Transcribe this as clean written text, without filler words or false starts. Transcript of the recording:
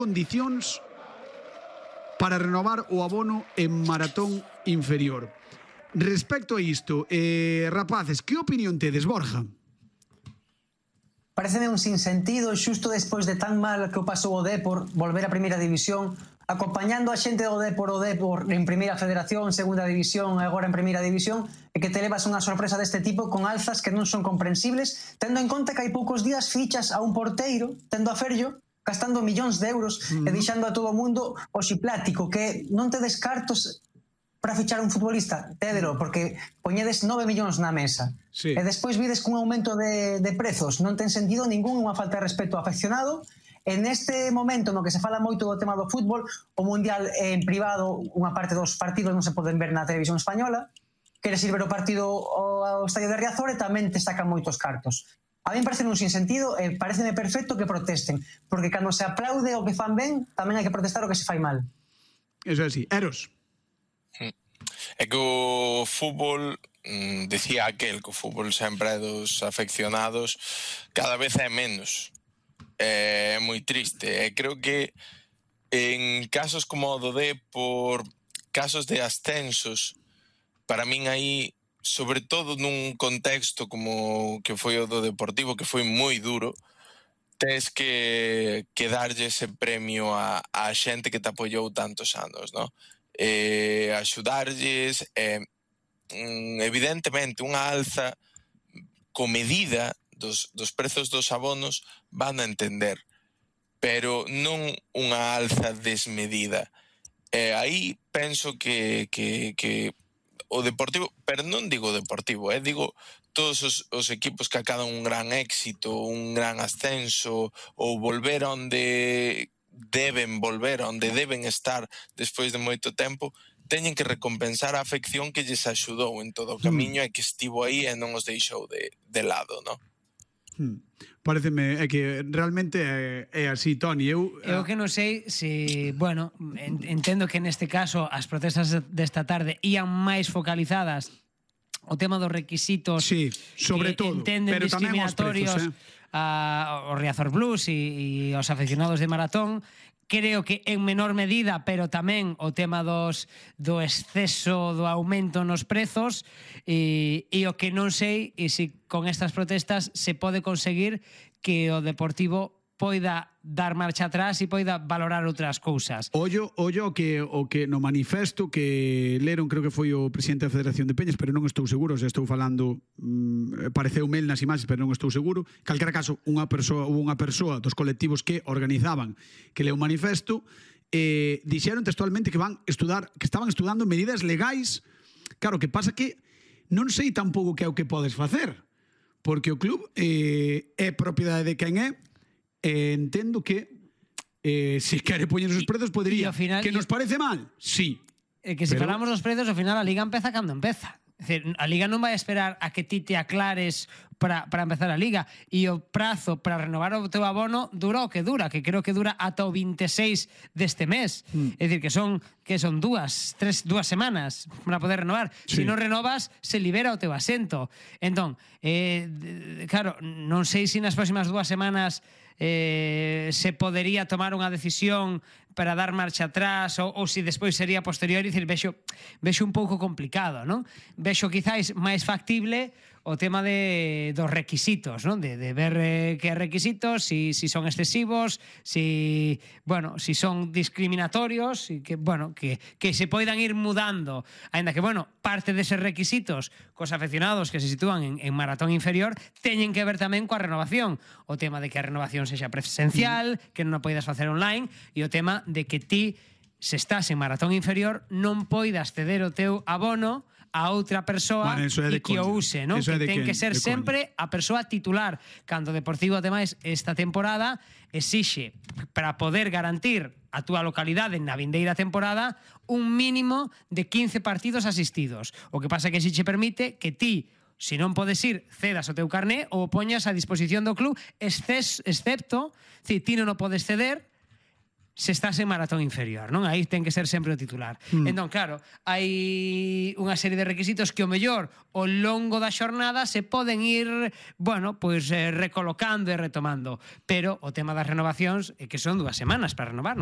condicións para renovar o abono en maratón inferior. Respecto a isto, rapaces, que opinión tedes, Borja? Pareceme un sinsentido xusto despois de tan mal que o pasou o Dépor volver a primeira división, acompañando a xente do Dépor en primeira federación, segunda división e agora en primeira división, e que te levas unha sorpresa deste tipo con alzas que non son comprensibles, tendo en conta que hai poucos días fichas a un porteiro, tendo a Ferllo, gastando millóns de euros e deixando a todo o mundo oxiplático, que non te descartos para fichar un futbolista, tédelo, porque poñedes 9 millóns na mesa. Sí. E despois vides cun aumento de prezos, non ten sentido ningún, unha falta de respeto ao afeccionado. E neste momento no que se fala moito do tema do fútbol, o Mundial en privado, unha parte dos partidos non se poden ver na televisión española, queres ir ver o partido ao estadio de Riazor e tamén te sacan moitos cartos. A mí parece un sinsentido e pareceme perfecto que protesten, porque cando se aplaude o que fan ben, tamén hai que protestar o que se fai mal. Eso é así. Eros? É que o fútbol, decía aquel que o fútbol sempre é dos afeccionados, cada vez é menos. É moi triste. E creo que en casos como o do Dépor, casos de ascensos, para min aí, sobre todo nun contexto como que foi o do Deportivo, que foi moi duro, tes que darlle ese premio a xente que te apoiou tantos anos, non? Axudarlles, evidentemente unha alza comedida dos prezos dos abonos van a entender, pero non unha alza desmedida. Aí penso que o Deportivo, pero non digo o Deportivo, digo todos os equipos que acadan un gran éxito, un gran ascenso, ou volver onde deben volver, onde deben estar despois de moito tempo, teñen que recompensar a afección que lles axudou en todo o camiño e que estivo aí e non os deixou de lado, non? Pareceme que realmente é así, Toni. Eu que non sei se, bueno, entendo que neste caso as protestas desta tarde ían máis focalizadas o tema dos requisitos, sí, sobre todo, entenden pero discriminatorios aos Riazor Blues e aos aficionados de maratón. Creo que en menor medida, pero tamén o tema do exceso do aumento nos prezos, e o que non sei e se con estas protestas se pode conseguir que o Deportivo poida dar marcha atrás e poida valorar outras cousas. Ollo o que no manifesto que leron, creo que foi o presidente da Federación de Peñas, pero non estou seguro, se estou falando, pareceume el nas imaxes, pero non estou seguro. Calquera caso, unha persoa dos colectivos que organizaban que leu o manifesto, dixeron textualmente que estaban estudando medidas legais. Claro, que pasa que non sei tampouco que é o que podes facer, porque o club é propiedade de quen é. Entendo que se quere poñer os prezos podería, final, que nos parece mal, sí, que se falamos dos prezos, ao final a Liga empeza cando empeza. É dicir, a Liga non vai esperar a que ti te aclares para empezar a Liga, e o prazo para renovar o teu abono dura o que dura, que creo que dura ata o 26 deste mes. É dicir, que son dúas semanas para poder renovar. Sí. Se non renovas, se libera o teu asento. Entón, claro, non sei se nas próximas 2 semanas se podería tomar unha decisión para dar marcha atrás ou se despois sería posterior. Dicir, vexo un pouco complicado, non? Vexo quizáis máis factible o tema dos requisitos, non? De ver que requisitos, si son excesivos, si son discriminatorios, e que se poidan ir mudando, aínda que, parte deses requisitos cos afeccionados que se sitúan en maratón inferior teñen que ver tamén coa renovación, o tema de que a renovación sexa presencial, que non a poidas facer online, e o tema de que ti, se estás en maratón inferior, non poidas ceder o teu abono a outra persoa e que o use, non? Que ten que ser sempre a persoa titular. Cando o Deportivo, ademais, esta temporada exixe, para poder garantir a túa localidade na vindeira temporada, un mínimo de 15 partidos asistidos. O que pasa é que si che permite que ti, se non podes ir, cedas o teu carné ou poñas a disposición do club, excepto, si ti non o podes ceder, se estás en maratón inferior, non? Aí ten que ser sempre o titular. Entón, claro, hai unha serie de requisitos que o mellor ao longo da xornada se poden ir, bueno, pois recolocando e retomando, pero o tema das renovacións é que son 2 semanas para renovar.